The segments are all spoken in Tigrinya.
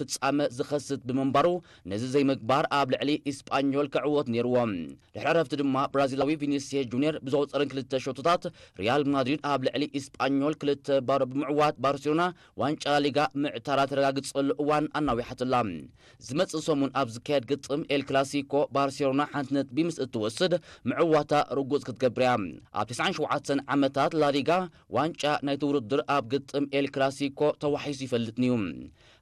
ፍጻመ ዝኸስት ብምንባሩ፣ ነዚ ዘይምግባር ኣብ ልዕሊ ኢስጳኞል ክዕወት ነይርዎ። ድሕሪ ዕረፍቲ ድማ ብራዚላዊ ቪኒስየስ ጁኒየር ብዘቑጸረን ክልተ ሸቶታት፣ ሪያል ማድሪድ ኣብ ልዕሊ ኢስጳኞል ክልተ ባዶ ብምዕዋት፣ ባርሴሎና ዋንጫ ላሊጋ ምዕታራ ተረጋግጸሉ እዋን ኣናዊሓትላ። ዝመጽእ ሰሙን ኣብ ዝካየድ ግጥም ኤል ክላሲኮ፣ ባርሴሎና ሓንቲ ነጥቢ ምስ እትወስድ፣ ምዕዋታ ርጉጽ ክትገብር እያ። ኣብ ተስዓን ሸውዓተን ዓመታት ላሊጋ ዋንጫ ናይቲ ውድድር ኣብ ግጥም ኤል ክላሲኮ ተዋሒሱ ይፈልጥን እዩ።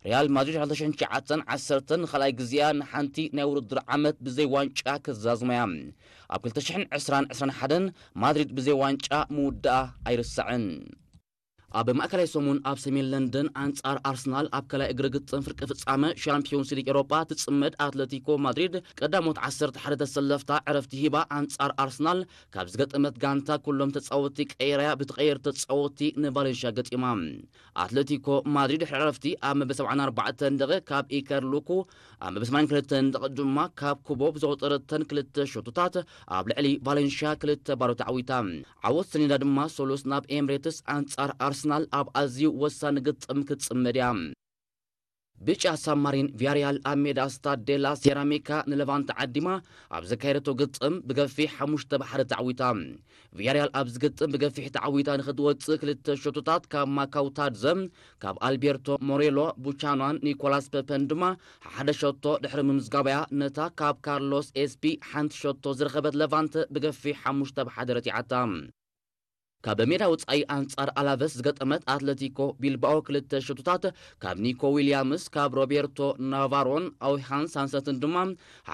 ሪያል ማድሪድ ክልተ ሽሕን ትሽዓተን ዓሰርተን ንኻልኣይ ግዜኣ ንሓንቲ ናይ ውድድር ዓመት ብዘይ ዋንጫ ክትዛዝማ እያ። ኣብ ክልተ ሽሕን ዕስራን ዕስራን ሓደን ማድሪድ ብዘይ ዋንጫ ምውዳኣ ኣይርሳዕን። ኣብ ማእከላይ ሰሙን ኣብ ሰሜን ለንደን ኣንጻር ኣርሰናል ኣብ ካልኣይ እግሪ ግጥም ፍርቂ ፍጻመ ሻምፒዮንስ ሊግ ኤውሮጳ ትጽመድ ኣትለቲኮ ማድሪድ ቀዳሞት ዓሰርተ ሓደ ተሰለፍታ ዕረፍቲ ሂባ ኣንጻር ኣርሰናል ካብ ዝገጠመት ጋንታ ኩሎም ተጻወትቲ ቀይራያ ብትቐየር ተጻወትቲ ንቫሌንሽያ ገጢማ። ኣትለቲኮ ማድሪድ ድሕሪ ዕረፍቲ ኣብ መበል ሰብዓን ኣርባዕተን ደቂቕ ካብ ኢከር ሉኩ፣ ኣብ መበል ሰማንያን ክልተን ደቂቕ ድማ ካብ ኩቦ ብዘቑጸረተን ክልተ ሸቶታት ኣብ ልዕሊ ቫሌንሽያ ክልተ ባዶ ተዓዊታ። ዓወት ሰኒዳ ድማ ሶሉስ ናብ ኤምሬትስ ኣንጻር ኣርሰናል ኣብ ኣዝዩ ወሳኒ ግጥም ክትጽመድ እያ። ብጫ ሳማሪን ቪያሪያል ኣብ ሜዳ ስታድ ዴላ ሴራሚካ ንለቫንተ ዓዲማ ኣብ ዘካየደቶ ግጥም ብገፊሕ ሓሙሽተ ብ ሓደ ተዓዊታ። ቪያሪያል ኣብዚ ግጥም ብገፊሕ ተዓዊታ ንኽትወጽእ ክልተ ሸቶታት ካብ ማካውታድዘ፣ ካብ ኣልቤርቶ ሞሬሎ፣ ቡቻኗን ኒኮላስ ፐፐን ድማ ሓደ ሸቶ ድሕሪ ምምዝጋባያ ነታ ካብ ካርሎስ ኤስፒ ሓንቲ ሸቶ ዝረኸበት ለቫንተ ብገፊሕ ሓሙሽተ ብ ሓደ ረቲዓታ። ካብ ሜዳ ወጻኢ ኣንጻር ኣላቨስ ዝገጠመት ኣትለቲኮ ቢልባኦ ክልተ ሸቶታት ካብ ኒኮ ዊልያምስ፣ ካብ ሮቤርቶ ናቫሮን ኣውሃን ሳንሰትን ድማ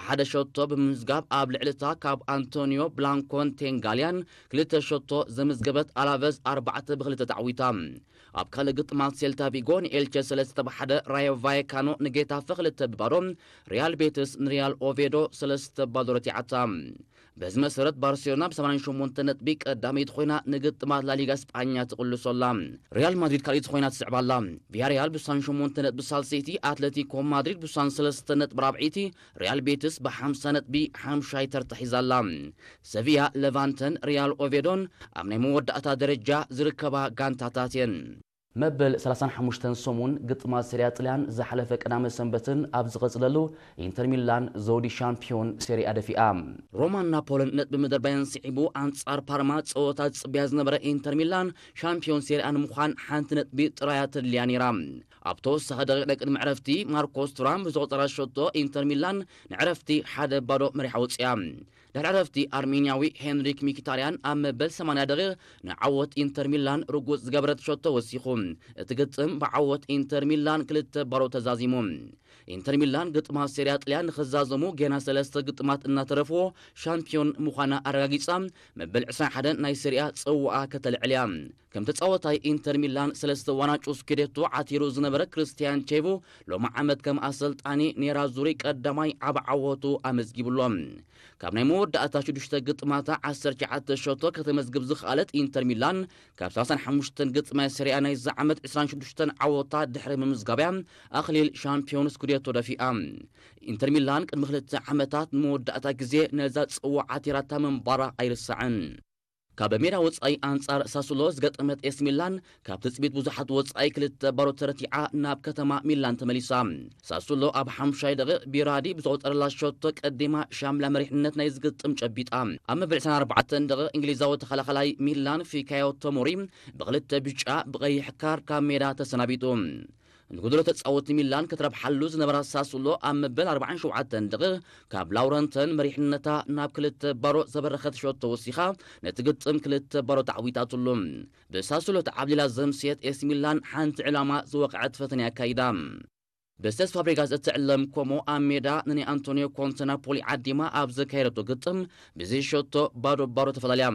ሓደ ሸቶ ብምምዝጋብ ኣብ ልዕልታ ካብ ኣንቶኒዮ ብላንኮን ቴንጋልያን ክልተ ሸቶ ዘመዝገበት ኣላቨስ ኣርባዕተ ብ ክልተ ተዓዊታ። ኣብ ካልእ ግጥማት ሴልታ ቪጎ ንኤልቸ ሰለስተ ብ ሓደ፣ ራዮ ቫየካኖ ንጌታፈ ክልተ ብ ባዶ፣ ሪያል ቤትስ ንሪያል ኦቬዶ ሰለስተ ብ ባዶ ረቲዓታ። በዚ መሰረት ባርሴሎና ብ ሰማንያን ሸሞንተ ነጥቢ ቀዳመይቲ ኮይና ንግጥማት ላሊጋ ስጳኛ ትቕልሶ ኣላ። ሪያል ማድሪድ ካልኣይቲ ኮይና ትስዕባ ኣላ። ቪያሪያል ብ ስሳን ሸሞንተ ነጥቢ ሳልሰይቲ፣ ኣትለቲኮ ማድሪድ ብ ስሳን ሰለስተ ነጥቢ ራብዐይቲ፣ ሪያል ቤትስ ብ ሓምሳ ነጥቢ ሓምሻይ ተርታ ሒዛ ኣላ። ሰቪያ፣ ለቫንተን ሪያል ኦቬዶን ኣብ ናይ መወዳእታ ደረጃ ዝርከባ ጋንታታት እየን። መበል ሰላሳን ሓሙሽተን ሰሙን ግጥማት ሴሪያ ጥልያን ዝሓለፈ ቀዳመ ሰንበትን ኣብ ዝቐጽለሉ፣ ኢንተር ሚላን ዘውዲ ሻምፒዮን ሴሪኣ ደፊኣ። ሮማን ናፖልን ነጥቢ ምድርባየን ስዒቡ ኣንጻር ፓርማ ጸወታ ዝጽበያ ዝነበረ ኢንተር ሚላን ሻምፒዮን ሴሪኣ ንምዃን ሓንቲ ነጥቢ ጥራያ ተድልያ ነይራ። ኣብ ተወሳኺ ደቂቕ ናይ ቅድሚ ዕረፍቲ ማርኮስ ቱራም ብዝቆጸራ ሸቶ ኢንተር ሚላን ንዕረፍቲ ሓደ ባዶ መሪሓ ወጽያ። ድሕሪ ዕረፍቲ ኣርሜንያዊ ሄንሪክ ሚኪታርያን ኣብ መበል ሰማንያ ደቂቕ ንዓወት ኢንተር ሚላን ርጉጽ ዝገበረት ሸቶ ወሲኹ። እቲ ግጥም ብዓወት ኢንተር ሚላን ክልተ ባዶ ተዛዚሙ። ኢንተር ሚላን ግጥማት ሴሪያ ጥልያን ንኽዛዘሙ ጌና ሰለስተ ግጥማት እናተረፍዎ ሻምፒዮን ምዃና ኣረጋጊጻ፣ መበል ዕስራን ሓደን ናይ ሴሪያ ጽዋኣ ከተልዕል እያ። ከም ተጻዋታይ ኢንተር ሚላን ሰለስተ ዋንጫ ስኩዴቶ ዓቲሩ ዝነበረ ክርስቲያን ቼቮ ሎሚ ዓመት ከም ኣሰልጣኒ ኔራዙሪ ቀዳማይ ዓቢ ዓወቱ ኣመዝጊቡ ኣሎ። ካብ ናይ መወዳእታ ሽዱሽተ ግጥማታ ዓሰርተ ትሽዓተ ሸቶ ከተመዝግብ ዝኸኣለት ኢንተር ሚላን ካብ ሰላሳን ሓሙሽተን ግጥማት ሴሪኣ ናይዚ ዓመት ዕስራን ሽዱሽተን ዓወታ ድሕሪ ምምዝጋብያ ኣኽሊል ሻምፒዮን ስኩዴቶ ደፊኣ። ኢንተር ሚላን ቅድሚ ክልተ ዓመታት ንመወዳእታ ግዜ ነዛ ጽዋዕ ዓቲራታ ምንባራ ኣይርሳዕን። ካብ ሜዳ ወጻኢ ኣንጻር ሳሱሎ ዝገጠመት ኤስ ሚላን ካብ ትጽቢት ብዙሓት ወጻኢ ክልተ ባዶ ተረቲዓ ናብ ከተማ ሚላን ተመሊሳ። ሳሱሎ ኣብ ሓምሻይ ደቂቕ ቢራዲ ብዝቆጸረላ ሸቶ ቀዲማ ሻምላ መሪሕነት ናይ ዝግጥም ጨቢጣ። ኣብ መበል ዕስራን ኣርባዕተን ደቂቕ እንግሊዛዊ ተኸላኸላይ ሚላን ፊካዮ ቶሞሪ ብክልተ ብጫ ብቐይሕ ካርድ ካብ ሜዳ ተሰናቢጡ። ንጎደሎ ተጻወቲ ሚላን ክትረብሓሉ ዝነበራ ሳሱሎ ኣብ መበል ኣርባዓን ሸውዓተን ደቂቕ ካብ ላውረንተን መሪሕነታ ናብ ክልተ ባዶ ዘበረኸት ሸቶ ወሲኻ ነቲ ግጥም ክልተ ባዶ ተዓዊታትሉ። ብሳሱሎ ተዓብሊላ ዘምስየት ኤስ ሚላን ሓንቲ ዕላማ ዝወቕዐት ፈተነ ኣካይዳ። ብሴስ ፋብሪጋስ እትዕለም ኮሞ ኣብ ሜዳ ንናይ ኣንቶኒዮ ኮንተ ናፖሊ ዓዲማ ኣብ ዘካየደቶ ግጥም ብዘይ ሸቶ ባዶ ባዶ ተፈላለያ።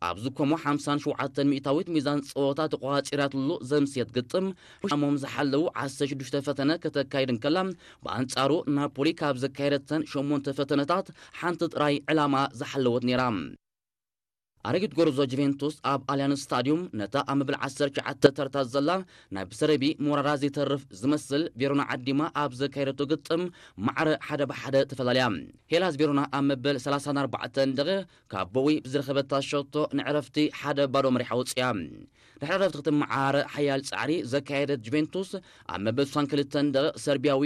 ኣብዚ ኮሞ ሓምሳን ሸውዓተን ሚእታዊት ሚዛን ጸወታ ተቆጻጺራትሉ ዘምስየት ግጥም፣ ሻሞም ዝሓለዉ ዓሰርተ ሽዱሽተ ፈተነ ከተካይድ እንከላ፣ ብኣንጻሩ ናፖሊ ካብ ዘካየደተን ሸሞንተ ፈተነታት ሓንቲ ጥራይ ዕላማ ዝሓለወት ነይራ። ኣረጊት ጎርዞ ጁቬንቱስ ኣብ ኣልያንስ ስታዲዩም ነታ ኣብ መበል ዓሰርተ ትሽዓተ ተርታ ዘላ ናይ ብሰረቢ ሞራራ ዘይተርፍ ዝመስል ቬሮና ዓዲማ ኣብ ዘካየደቶ ግጥም ማዕረ ሓደ ብሓደ ተፈላለያ። ሄላስ ቬሮና ኣብ መበል ሰላሳን ኣርባዕተን ደቂቕ ካብ ቦዊ ብዝረኸበታ ሸቶ ንዕረፍቲ ሓደ ባዶ መሪሓ ወጽያ። ድሕሪ ዕረፍቲ ክትመዓራረ ሓያል ጻዕሪ ዘካየደት ጁቬንቱስ ኣብ መበል ስሳን ክልተን ደቂቕ ሰርቢያዊ